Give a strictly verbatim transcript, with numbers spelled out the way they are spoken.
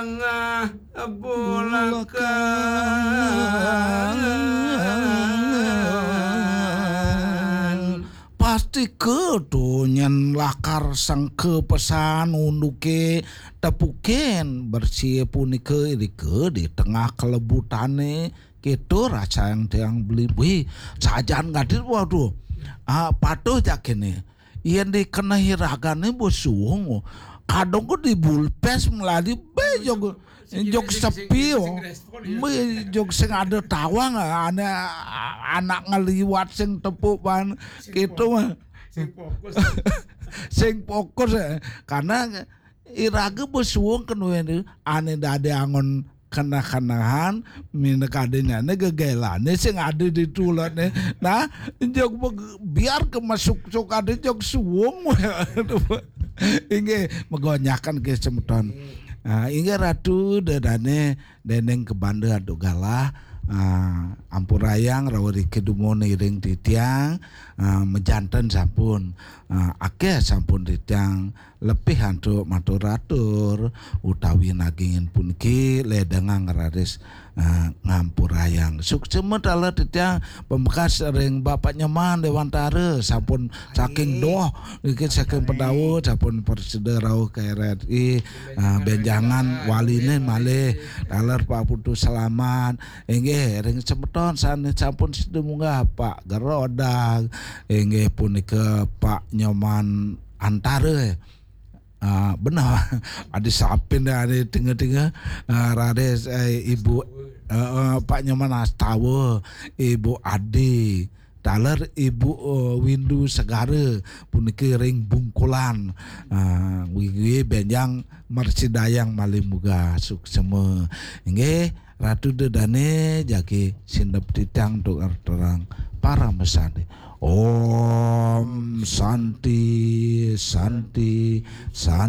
Tengah bulakan. Pasti kedo nyen lakar sangke pesan unduke tepukin bersih punika irika di tengah kelebutane. Kita rasa yang tiang beli, wih, sajan gadis, waduh. Ah, patuh jakine. Yen dikena iragane besuung. Kadang ke di bulpes melali be jog jog sepi, oh. Be jog sing ada tawang, ane anak ngeliwat sing tepuk ban gitu mah. Sing fokus, eh. Karena irage besuung kenuwe ane dadi angon kenah-kenahan, minakadene gegelane sing ada di tulane. Nah, jog beg-, biar ke masuk sok ada jog suung. Inggih, megonyakan ke semeton. Ah, inggih Ratu, dedane deneng kebanda adu galah. Ah, ampurayang rawa riki dumun iring titiang. Ah, mejanten sampun. Ah, akeh sampun titiang lepih antuk matur-atur utawi nagingin puniki ledengang raris, ah, ngampurayang. Suksema taler titiang pameksa ring Bapak Nyoman Dewantara sampun saking doh niki saking Pedaud sampun prasida rauh ka R R I, ah, benjangan waline malih taler Pak Putu Selamat. Inggih, ring semeton sane sampun sida munggah Pak Gerodag, inggih punika Pak Nyoman Antara. Ah, benar. Ada sapin dah ada tengah-tengah. Ah, raris, eh, Ibu, eh, eh, Pak Nyoman Astawa, Ibu Adi, taler Ibu, eh, Windu Segara, puniki ring Bungkulan. Ah, wiwi benjang mersidayang malih muga suksema. Inggih, Ratu dedane jagi sindep titiang untuk terang parama santi. Om Santi, Santi, Santi.